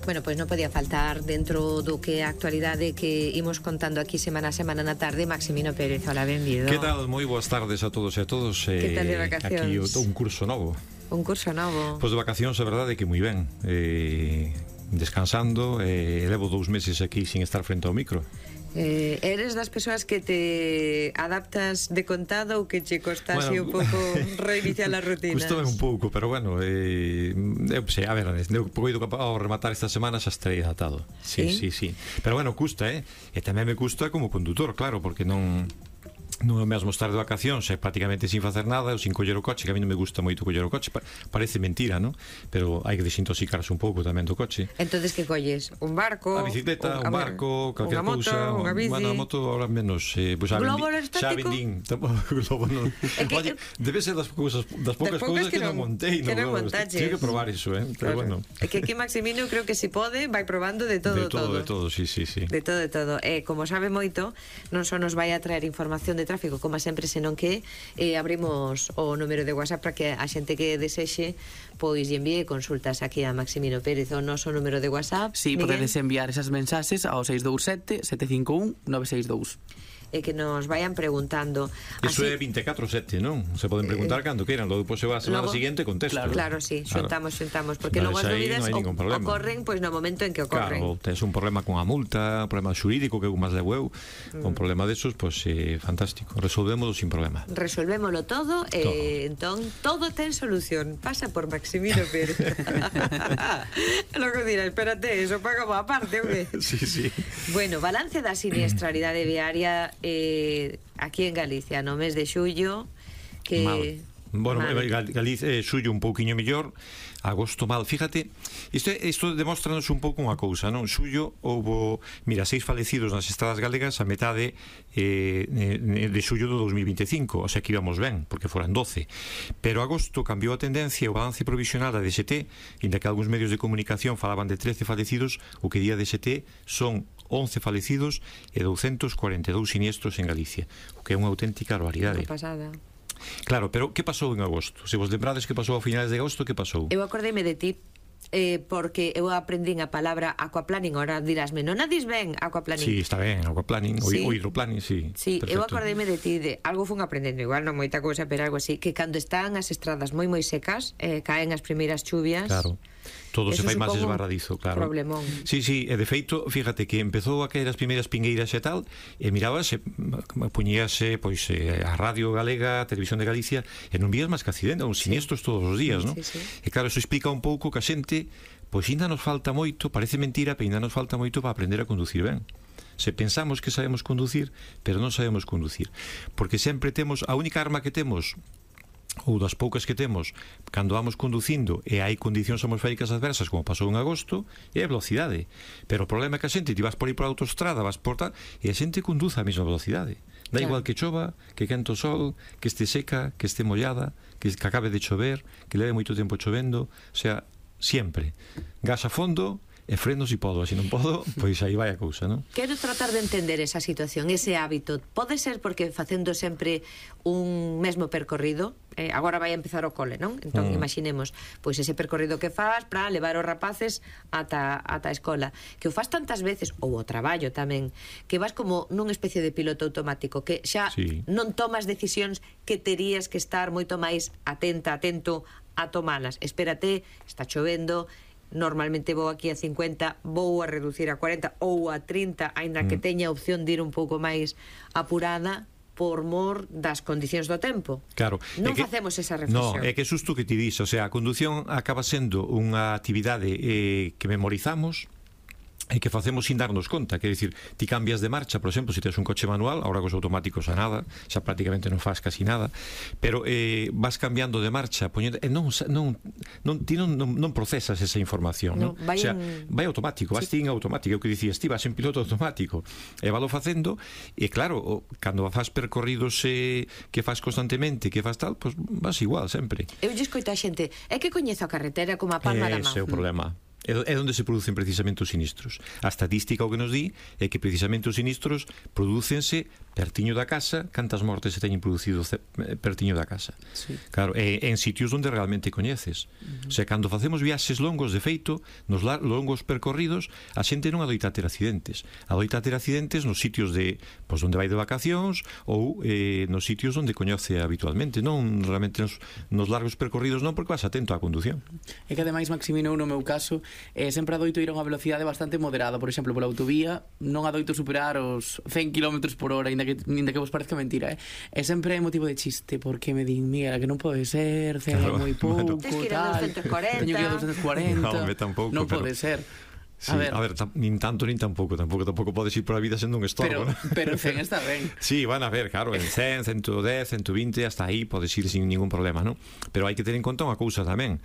Bueno, pois non podía faltar dentro do que a actualidade que imos contando aquí semana a semana na tarde. Maximino Pérez, hola, benvido. Que tal? Moi boas tardes a todos e a todos. Que tal de vacacións? Aquí un curso novo. Un curso novo. Pois de vacacións, a verdade é que moi ben. Descansando, levo 2 meses aquí sin estar frente ao micro. Eres das persoas que te adaptas de contado ou que che costa así un pouco reiniciar as rutinas? Custame un pouco, pero bueno, eu sei, a ver, eu poido ao rematar esta semana xa estarei adaptado. Sí. Pero bueno, custa, e tamén me custa como condutor, claro, porque non é o mesmo estar de vacacións prácticamente sin facer nada ou sin coller o coche, que a mí non me gusta moito coller o coche, parece mentira, non? Pero hai que desintoxicarse un pouco tamén do coche. Entonces que colles? Un barco? A bicicleta, un barco, calquer cousa. Unha bici? Bueno, a moto ahora menos. Pues globo aerostático? Xa vendín, globo non. Oye, debe ser das poucas cousas que non montei, que non montaches. Tiene que probar iso, pero bueno. É que aquí Maximino creo que se pode vai probando de todo. De todo, sí. De todo. Como sabe moito, non só nos vai a traer información de tráfico, como sempre, senón que abrimos o número de WhatsApp para que a xente que desexe pois lle envíe consultas aquí a Maximino Pérez. O noso número de WhatsApp, sí, podedes enviar esas mensaxes ao 627 751 962 e que nos vayan preguntando. Iso é 24/7, non? Se poden preguntar cando queiran, logo depois se va a semana seguinte contesto. Claro, sí, xuntamos, porque logo as dúbidas ocorren pois no momento en que ocorren. Claro, tens un problema con a multa, un problema xurídico que máis levo eu, un problema desos, pois fantástico, resolvémolo sin problema. Resolvémolo todo, entón todo ten solución. Pasa por Maximino Pérez. Logo dirá, espérate, eso paga má parte, ou que? Sí. Bueno, balance da siniestralidade viaria aquí en Galicia no mes de xullo, que mal. Bueno, Galicia, xullo un pouquiño mellor, agosto mal. Fíjate, isto demóstranos un pouco unha cousa, non? Xullo houbo, 6 falecidos nas estradas galegas a metade de xullo do 2025, o sea que íbamos ben, porque foran 12. Pero agosto cambiou a tendencia, o balance provisional da DST, inda que algúns medios de comunicación falaban de 13 falecidos, o que día DST son 11 falecidos e 242 siniestros en Galicia, o que é unha auténtica barbaridade. Unha pasada. Claro, pero que pasou en agosto? Se vos lembrades que pasou a finales de agosto, que pasou? Eu acordeime de ti, porque eu aprendín a palabra aquaplaning. Ahora dirásme, non a dis ben aquaplaning? Sí, está ben, aquaplaning, o hidroplaning, sí. Sí, eu acordeime de ti, de algo fun aprendendo, igual non moita cousa, pero algo así, que cando están as estradas moi secas, caen as primeiras chuvias. Claro. Todo se fai máis esbarradizo, claro. Problemón. Sí, e de feito, fíjate que empezou a caer as primeiras pingueiras e tal, e mirabase, puñíase pois a Radio Galega, a Televisión de Galicia, e non vías máis que accidentes, uns siniestros todos os días, non? Sí. E claro, eso explica un pouco que a xente, pois ainda nos falta moito, parece mentira, pero ainda nos falta moito para aprender a conducir ben. Se pensamos que sabemos conducir, pero non sabemos conducir, porque sempre temos, a única arma que temos, ou das poucas que temos cando vamos conducindo e hai condicións atmosféricas adversas, como pasou en agosto, é a velocidade. Pero o problema é que a xente, ti vas por aí por a autostrada, vas por tal, e a xente conduza a mesma velocidade. Da igual que chova, que quente o sol, que este seca, que este mollada, que acabe de chover, que leve moito tempo chovendo, o sea, sempre gas a fondo e frenos e podo, así non podo, pois aí vai a cousa, non? Quero tratar de entender esa situación, ese hábito. Pode ser porque facendo sempre un mesmo percorrido, agora vai a empezar o cole, non? Entón, imaginemos, pois ese percorrido que faz para levar os rapaces ata a escola, que o faz tantas veces, ou o traballo tamén, que vas como nunha especie de piloto automático, que xa non tomas decisións que terías que estar moito máis atento a tomalas. Espérate, está chovendo, normalmente vou aquí a 50, vou a reducir a 40 ou a 30, aínda que teña opción de ir un pouco máis apurada por mor das condicións do tempo. Claro. Non facemos esa reflexión. No, é que é xusto que ti dis, o sea, a condución acaba sendo unha actividade que memorizamos e que facemos sin darnos conta, quer dicir, ti cambias de marcha, por exemplo, se tes un coche manual, agora cos automáticos a nada, xa prácticamente non faz casi nada, pero vas cambiando de marcha, poñendo, ti non procesas esa información, non? O sea, vai automático, vas ti en automático, é o que dicías, ti vas en piloto automático, e valo facendo, e claro, cando faz percorridos que faz constantemente, que faz tal, pois vas igual sempre. Eu lle escoito a xente, é que coñezo a carretera como a palma da man. Ese é o problema. É onde se producen precisamente os sinistros. A estatística o que nos di é que precisamente os sinistros prodúcense pertiño da casa. Cantas mortes se teñen producido pertiño da casa? Sí. Claro, é en sitios onde realmente coñeces. O sea, cando facemos viaxes longos, de feito, nos longos percorridos, a xente non adoita ter accidentes. Adoita ter accidentes nos sitios de, pois, onde vai de vacacións ou nos sitios onde coñece habitualmente, non realmente nos largos percorridos non, porque vas atento á condución. É que ademais, Maximino, no meu caso, sempre adoito ir a unha velocidade bastante moderada. Por exemplo, pola autovía non adoito superar os 100 km por hora, ainda que vos parezca mentira, E sempre é motivo de chiste, porque me din, mira, que non pode ser, é moi pouco, Tens que ir a 240. teño que ir a 240. No, tampouco, non pode ser. Sí, a ver, nin tanto nin tampouco podes ir por a vida sendo un estorbo, ¿no? Pero 100 está ben. Sí, van a ver, claro, en 100, 110, 120, hasta aí podes ir sin ningún problema, ¿no? Pero hai que ter en conta unha cousa tamén.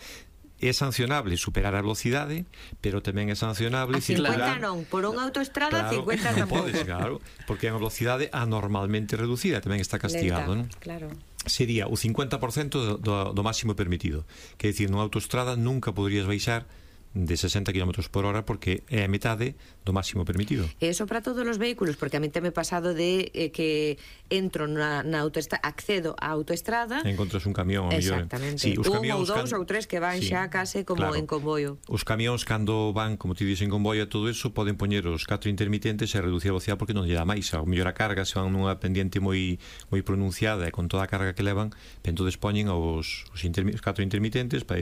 É sancionable superar a velocidade, pero tamén é sancionable a 50 circular. non, por unha autoestrada, Claro, 50 non tampouco. podes, claro, porque é unha velocidade anormalmente reducida, tamén está castigado, non? Claro. Sería o 50% do máximo permitido. Quer dicir, nunha autoestrada nunca poderías baixar de 60 km por hora, porque é a metade do máximo permitido. E eso para todos os vehículos, porque a mí teme pasado de que entro na autoestrada, accedo á autoestrada, Encontras un camión, ao mellor. exactamente, Sí, os un camións ou dous ou tres que van sí, xa case como claro. en convoio. Os camións, cando van, como ti dixen, en convoio, todo eso, poden poñer os 4 intermitentes e reducir a velocidade porque non lle dá máis. Ao mellor a carga, se van nunha pendiente moi pronunciada e con toda a carga que levan, entonces poñen os 4 intermitentes para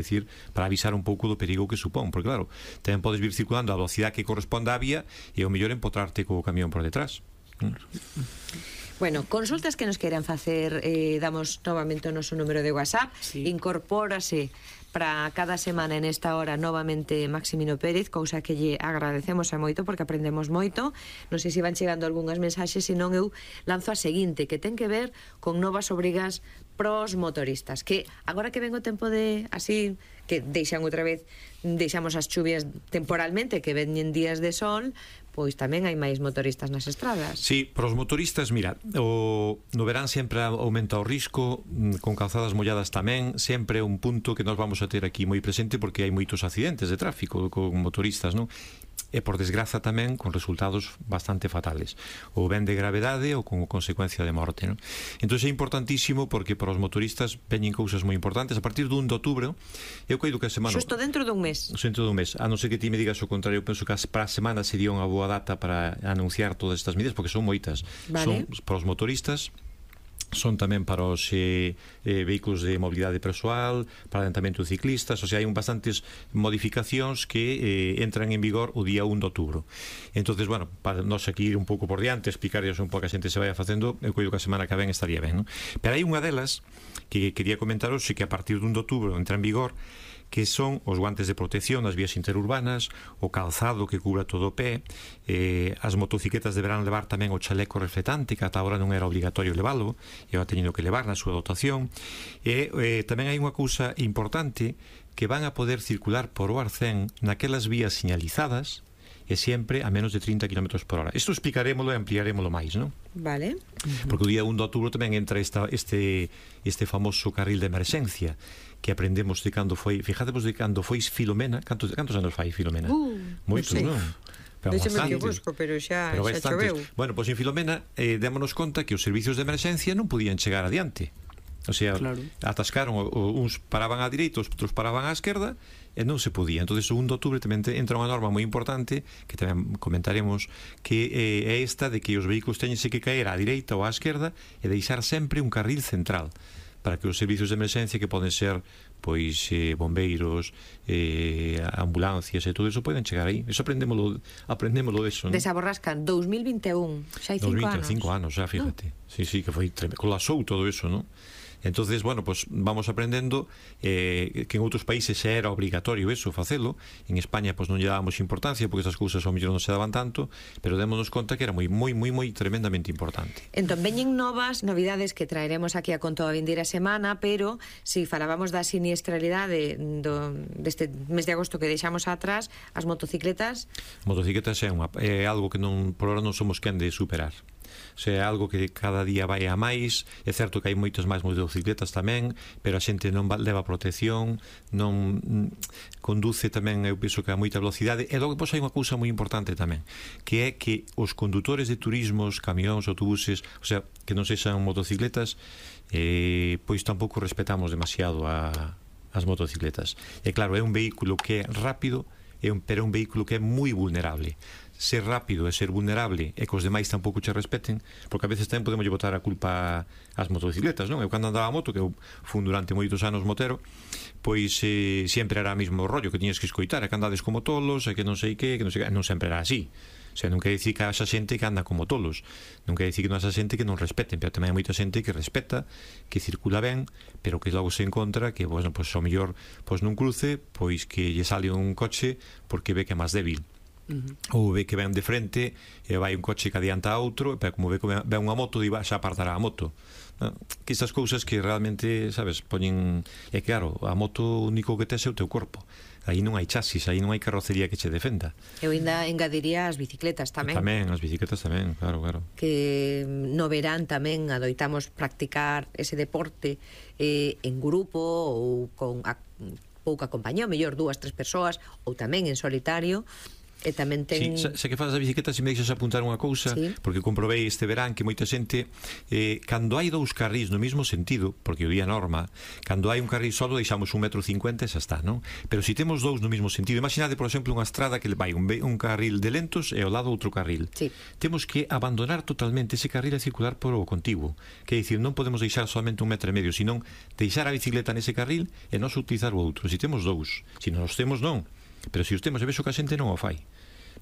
avisar un pouco do perigo que supón, porque claro, tamén podes vir circulando a velocidade que corresponde á vía e ao mellor empotrarte co camión por detrás. Bueno, consultas que nos queiran facer, damos novamente o noso número de WhatsApp, Sí. Incorpórase para cada semana en esta hora novamente Maximino Pérez, cousa que lle agradecemos a moito porque aprendemos moito. Non sei se van chegando algunhas mensaxes, senón eu lanzo a seguinte, que ten que ver con novas obrigas pros motoristas, que agora que ven o tempo de así, que deixamos as chuvias temporalmente, que veñen días de sol, pois tamén hai máis motoristas nas estradas. Sí, para os motoristas, mira, no verán sempre aumenta o risco, con calzadas molladas tamén, sempre un punto que nós vamos a ter aquí moi presente, porque hai moitos accidentes de tráfico con motoristas, non? E por desgraza tamén con resultados bastante fatales, ou ben de gravedade ou con consecuencia de morte, non? Entón é importantísimo, porque para os motoristas veñen cousas moi importantes a partir do 1 de outubro. Eu coido que a semana Xusto dentro dun mes. A non ser que ti me digas o contrario, penso que para a semana sería unha boa data para anunciar todas estas medidas, porque son moitas. Vale. Son para os motoristas, son tamén para os vehículos de mobilidade persoal, para adentamento de ciclistas, o sea, hai bastantes modificacións que entran en vigor o día 1 de outubro. Entonces, bueno, para nós aquí ir un pouco por diante, explicarles un pouco a xente se vai facendo, eu coido que a semana que ven estaría ben, non? Pero hai unha delas que quería comentaros, que a partir do 1 de outubro entra en vigor, que son os guantes de protección nas vías interurbanas, o calzado que cubra todo o pé, as motocicletas deberán levar tamén o chaleco reflectante, que ata agora non era obligatorio levalo, e agora teñendo que levar na súa dotación. E tamén hai unha cousa importante, que van a poder circular por o arcén naquelas vías señalizadas, e sempre a menos de 30 km por hora. Isto explicarémolo e ampliarémolo máis, non? Vale. Porque o día 1 de outubro tamén entra este famoso carril de emerxencia, que aprendemos de cando foi, fijadevos de cando foi Filomena. Cantos anos fai Filomena? Moitos, non? Deixeme que busco, pero xa choveu. Bueno, pois en Filomena démonos conta que os servicios de emerxencia non podían chegar adiante. O sea, claro, atascaron, uns paraban á direita, outros paraban á esquerda, e non se podía. Entonces o 1 de outubro tamén entra unha norma moi importante, que tamén comentaremos, que é esta de que os vehículos teñense que caer á direita ou á esquerda e deixar sempre un carril central, para que os servicios de emerxencia, que poden ser pois bombeiros, ambulancias e todo eso, poden chegar aí. Eso aprendémolo deso, ¿no? Desaborrascan 2021, xa hai 5 anos. 5 anos, xa, fíjate. Sí, que foi colapsou todo eso, ¿no? Entonces, bueno, pues vamos aprendendo que en outros países xa era obligatorio eso, facelo. En España pues non lle dábamos importancia porque esas cousas ao mellor non se daban tanto, pero démonos conta que era moi tremendamente importante. Entón, veñen novas novidades que traeremos aquí a conto a vindeira semana, pero si falábamos da siniestralidade deste mes de agosto que deixamos atrás, as motocicletas é algo que non por ahora non somos quen de superar. O sea, é algo que cada día vai a máis. É certo que hai moitas máis motocicletas tamén, pero a xente non leva protección, non conduce tamén, eu penso que a moita velocidade. E logo pois hai unha cousa moi importante tamén, que é que os condutores de turismos, camións, autobuses, o sea, que non sexan motocicletas, pois tampouco respetamos demasiado as motocicletas. E claro, é un vehículo que é rápido, pero é un vehículo que é moi vulnerable. Ser rápido e ser vulnerable e que os demais tampouco che respeten, porque a veces tamén podemos botar a culpa ás motocicletas, non? Eu cando andaba a moto, que eu fun durante moitos anos motero, pois sempre era o mesmo rollo, que tiñas que escoitar, e que andades como tolos, e que non sei que non sei que, non sempre era así. O sea, non quer dicir que haxa xente que anda como tolos, non quer dicir que non haxa xente que non respeten, pero tamén hai moita xente que respeta, que circula ben, pero que logo se encontra que, bueno, pois ao mellor pois nun cruce, pois que lle sale un coche porque ve que é máis débil. Ou ve que ven de frente e vai un coche que adianta a outro, pero como ve que ven unha moto, xa apartará a moto. Que estas cousas que realmente, sabes, poñen... E claro, a moto único que tes é o teu corpo. Aí non hai chasis, aí non hai carrocería que che defenda. Eu ainda engadiría as bicicletas tamén. Tamén, as bicicletas tamén, claro. Que no verán tamén adoitamos practicar ese deporte en grupo ou con pouca compañía, mellor 2, 3 persoas, ou tamén en solitario. E tamén ten... Sí, se que faz a bicicleta, se me deixas apuntar unha cousa, sí, porque comprobei este verán que moita xente, cando hai 2 carrís no mesmo sentido, porque o día norma, cando hai un carril solo deixamos 1,50 m e xa está, non? Pero se temos 2 no mesmo sentido, imaginade, por exemplo, unha estrada que vai un carril de lentos e ao lado outro carril, sí, temos que abandonar totalmente ese carril e circular por o contiguo, que é dicir, non podemos deixar solamente 1,5 m, senón deixar a bicicleta nese carril e non utilizar o outro. Se temos 2, se non os temos, non. Pero se os temos, e vexo que a xente non o fai.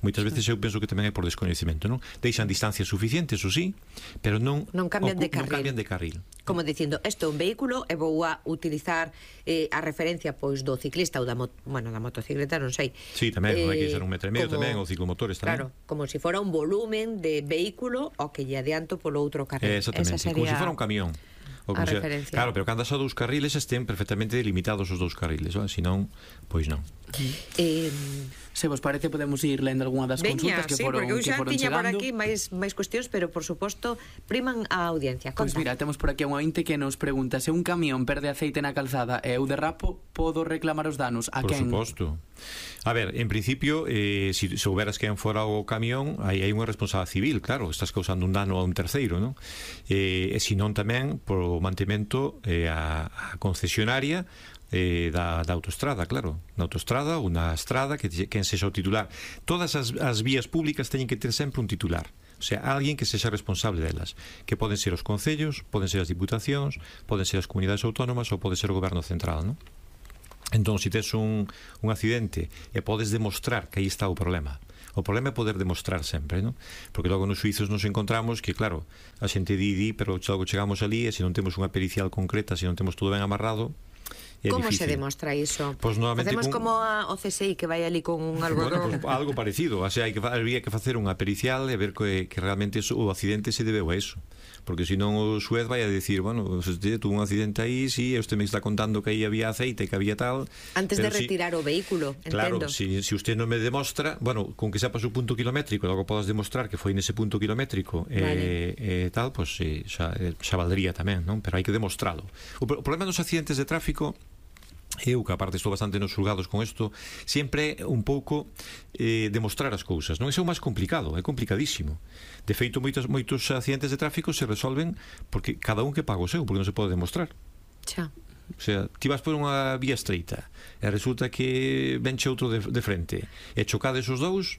Moitas veces eu penso que tamén é por descoñecemento, non? Deixan distancias suficientes, ou sí, pero non cambian de carril. Non cambian de carril. Como dicindo, isto é un vehículo e vou a utilizar a referencia pois do ciclista ou da motocicleta, non sei. Sí, tamén, non hai que ser 1,5 m tamén, ou ciclomotores tamén. Claro, como se fora un volumen de vehículo o que lle adianto polo outro carril. Exactamente, sería... como se fora un camión. A referencia. Claro, pero cando has a 2 carriles estén perfectamente delimitados os 2 carriles, se non, pois non. Se vos parece podemos ir lendo algunha das consultas que foron chegando. Porque eu xa tiña por aquí máis cuestións, pero por suposto priman a audiencia. Pois mira, temos por aquí a unha ointe que nos pregunta: se un camión perde aceite na calzada e eu derrapo, podo reclamar os danos? A quen? Por suposto. A ver, en principio, se souberas quen fora o camión, aí hai unha responsabilidade civil, claro, estás causando un dano a un terceiro, non? E se non tamén por mantemento a concesionaria da autoestrada, claro, na autoestrada ou na estrada, que quen sexa o titular. Todas as vías públicas teñen que ter sempre un titular, o sea, alguén que sexa responsable delas, que poden ser os concellos, poden ser as diputacións, poden ser as comunidades autónomas ou pode ser o goberno central, non? Entón, se tes un accidente e podes demostrar que aí está o problema, o problema é poder demostrar sempre, non? Porque logo nos suizos nos encontramos que, claro, a xente di, pero logo chegamos ali e se non temos unha pericial concreta, se non temos todo ben amarrado, é como difícil. Se demostra iso? Pues Facemos como o CSI que vai ali con un algodón. Bueno, pues algo parecido, o sea, habría que facer unha pericial e ver que realmente o accidente se debeu a eso, porque senón o xuez vai a decir, bueno, usted tuvo un accidente aí, sí, usted me está contando que aí había aceite, que había tal, antes de retirar o vehículo, entendo. Claro, si usted non me demostra, bueno, con que sepas o punto kilométrico, logo podas demostrar que foi nese punto kilométrico, vale, tal, pues xa valdría tamén, non? Pero hai que demostralo. O problema dos accidentes de tráfico, eu que aparte estou bastante nos xulgados con isto, sempre un pouco demostrar as cousas, non? Iso é o máis complicado, é complicadísimo. De feito, moitos accidentes de tráfico se resolven porque cada un que paga o seu, porque non se pode demostrar. Xa. O sea, ti vas por unha vía estreita e resulta que venche outro de frente e chocades os dous,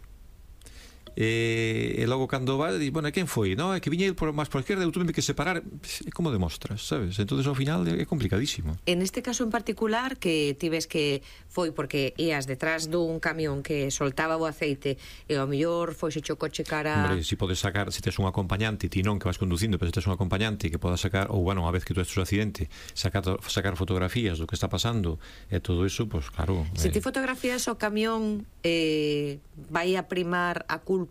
e logo cando va, di, bueno, quen foi? No, é que viña ir máis por a esquerda, eu tuve que separar. Como demostras, sabes? Entonces ao final é complicadísimo. En este caso en particular, que ti ves que foi porque ías detrás dun camión que soltaba o aceite e ao mellor foi se o coche cara... Hombre, si podes sacar, se tes un acompañante, ti non que vas conducindo, pero se tes un acompañante que poda sacar, ou bueno, a vez que tú estes o accidente, sacar fotografías do que está pasando e todo eso, pues claro. Se ti fotografías o camión, vai a primar a culpa,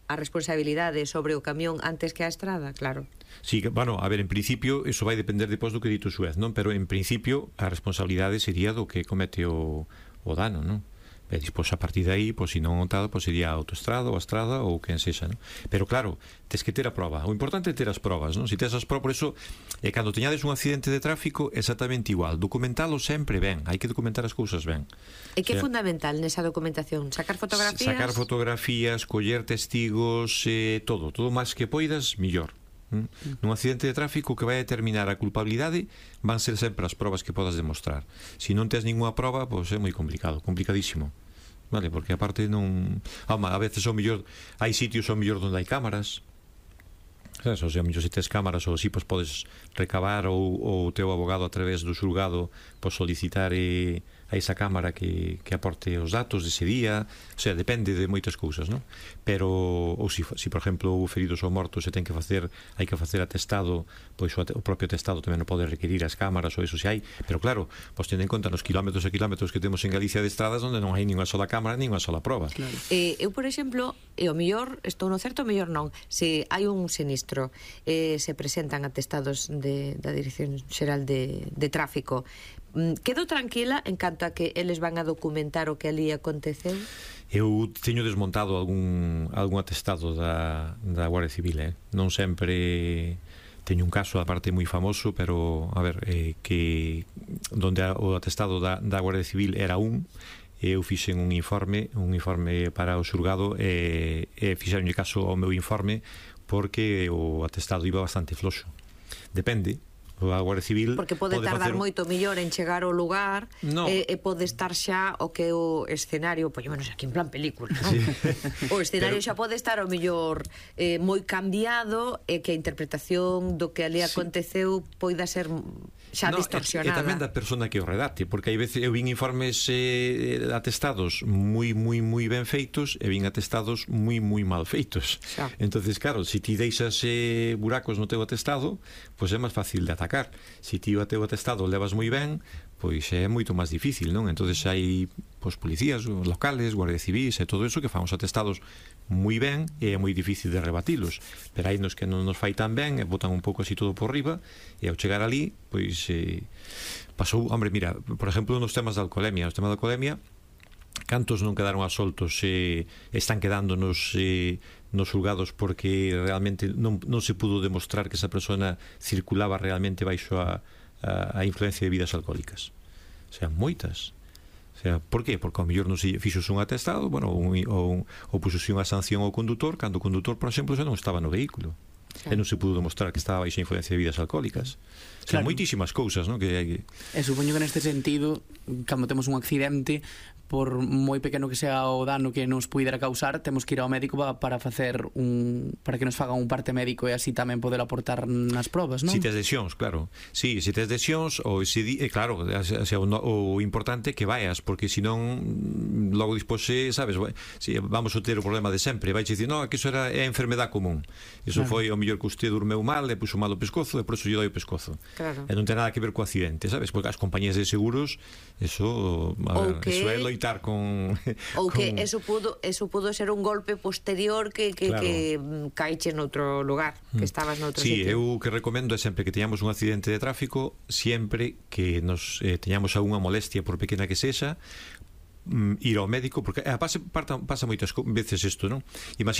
a responsabilidade sobre o camión antes que a estrada, claro. Sí, bueno, a ver, en principio eso vai depender depois do que dito o xuez, non? Pero en principio a responsabilidade sería do que comete o dano, non? E despois a partir de aí, pois se non tal, pois sería a autoestrada ou a estrada ou quen sexa, non? Pero claro, tes que ter a proba. O importante é ter as probas, non? Se tes as probas, por eso, cando teñades un accidente de tráfico, exactamente igual. Documentalo sempre ben. Hai que documentar as cousas ben. E que é fundamental nesa documentación? Sacar fotografías? Sacar fotografías, coller testigos, todo máis que poidas, millor. Nun accidente de tráfico que vai determinar a culpabilidade van ser sempre as probas que podas demostrar. Se non tes ninguna proba, pois é moi complicado, complicadísimo, vale? Porque aparte non... a veces o mellor hai sitios o mellor onde hai cámaras, sabes? O sea, mellor se tes cámaras ou así, pois podes recabar ou o teu abogado a través do xulgado pois solicitar a esa cámara que aporte os datos dese día. O sea, depende de moitas cousas, non? Pero, ou se por exemplo houve feridos ou mortos e hai que facer atestado, pois o propio atestado tamén non pode requerir as cámaras ou eso se hai, pero claro, pois tendo en conta nos quilómetros e quilómetros que temos en Galicia de estradas onde non hai ninguna sola cámara, ninguna sola proba. Claro. Eu, por exemplo, o mellor estou no certo, o mellor non, se hai un sinistro, se presentan atestados da Dirección Xeral de Tráfico, quedo tranquila en canto a que eles van a documentar o que ali aconteceu? Eu teño desmontado algún atestado da Guardia Civil, non sempre. Teño un caso, aparte moi famoso, pero a ver, que donde o atestado da Guardia Civil era eu fixen un informe para o xulgado e fixeronlle caso ao meu informe porque o atestado iba bastante floxo. Depende. A Guardia Civil porque pode tardar moito mellor en chegar ao lugar, e pode estar xa o que é o escenario, pois menos aquí en plan película, non? Sí. O escenario xa pode estar ao mellor moi cambiado e que a interpretación do que ali aconteceu poida ser xa distorsionada. E tamén da persona que o redacte, porque hai veces eu vin informes atestados moi ben feitos e vin atestados moi mal feitos. Entonces, claro, se ti deixas buracos no teu atestado, pois é máis fácil de atacar. Se ti o teu atestado levas moi ben, pois é moito máis difícil, non? Entonces hai policías locales, guardias civis e todo eso que fan os atestados moi ben e é moi difícil de rebatilos, pero hai nos que non nos fai tan ben e botan un pouco así todo por riba e ao chegar ali, pois pasou, hombre, mira, por exemplo, nos temas da alcoholemia, cantos non quedaron asoltos están quedando nos xulgados porque realmente non se pudo demostrar que esa persona circulaba realmente baixo a influencia de bebidas alcohólicas. O sea, moitas. O sea, por qué? Porque ao mellor non se fixos un atestado, bueno, ou puxose unha sanción ao condutor cando o condutor, por exemplo, xa non estaba no vehículo. E non se pudo demostrar que estaba baixo a influencia de bebidas alcohólicas. O sea, moitísimas cousas, non? E supoño que neste sentido, cando temos un accidente, por moi pequeno que sea o dano que nos puidera causar, temos que ir ao médico para que nos fagan un parte médico e así tamén poder aportar nas probas, non? Si tes lesións, claro. Si tes lesións, claro, o importante é que vayas, porque senón logo despois, sabes, vamos a ter o problema de sempre, vai dicir, non, que iso é a enfermedad común. Iso foi o mellor que usted durmeu mal, e puxo mal o pescozo, e por iso lle doi o pescozo. Claro. E non ten nada que ver co accidente, sabes? Porque as compañías de seguros, eso é loitar con... Ou que eso pudo ser un golpe posterior que caiche noutro lugar, que estabas noutro sitio. Sí, eu que recomendo é sempre que teñamos un accidente de tráfico, sempre que nos teñamos algunha molestia, por pequena que sexa, ir ao médico, porque pasa moitas veces isto, non? Imagina,